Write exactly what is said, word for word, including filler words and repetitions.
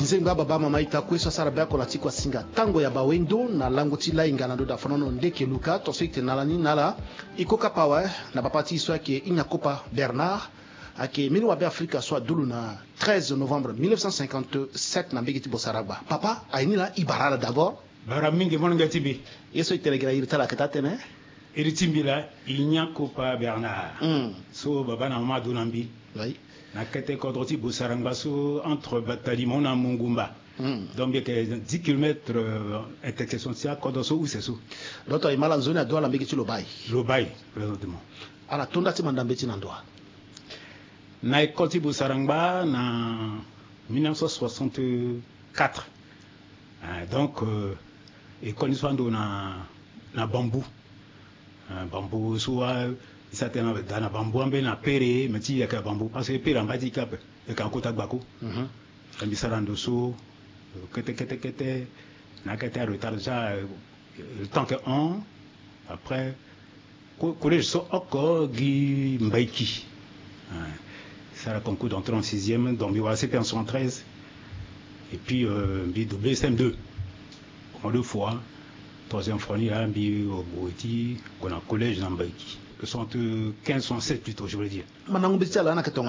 Zengba baba mama ita kue so asara be oko na ti kuasinga tango ya bawendo na lango ti lainga na ndo da fanono ndeke luka tonso ite na ala ni na ala. Iko kapa awe na bapa ti e so ayeke Inyakopa Bernard, ayeke mili wa be afrika so adulu na treize novembre mille neuf cent cinquante-sept na mbege ti Bosaragba. Papa aye ni laa, e bara ala d'abord. Bara mingi molenge ti mbi. Ye so e tene gi na iri ti ala ayeke taa tënë? Iri ti mbi laa Inyakopa Bernard. Hmm. So baba na mama adu na mbi. Oui. Na kete kodro ti Bosarangba so entre Batalimo na Mongumba. Hmm. Donc mbi yeke dix kilomètres, euh, intersection ti akodro so use so. Docteur, e ma ala nzoni adu ala mbege ti Lobaye. Lobaye, présentement. Ala to nda ti mandambe ti na ndo wa? Na école ti Bosarangba na mille neuf cent soixante-quatre. Euh, donc, euh, école ni so ando na, na Bambou. Euh, Bambou so wa, e sa tena da na Bambou ambeni na Pere, mais ti yeke na Bambou, parce que Pere amba ti yeke ape, yeke na kota gbako. Mhm. Mbi sara ndo so, euh, kete, kete, kete, na kete a retard déjà, euh, le temps que on, après, co-, collège so oko gi Mbaiki. Hein. Sara concours d'entrée en sixième, donc mbi wara C P en soixante-treize. Et puis, euh, mbi doublé C M deux. Pendant deux fois, troisième fois ni laa, mbi, euh, gue ti gue na collège na Mbaiki. Soixante-quinze, soixante-sept plutôt, je voulais dire. Mandango mbeti ti ala na yeke tonga.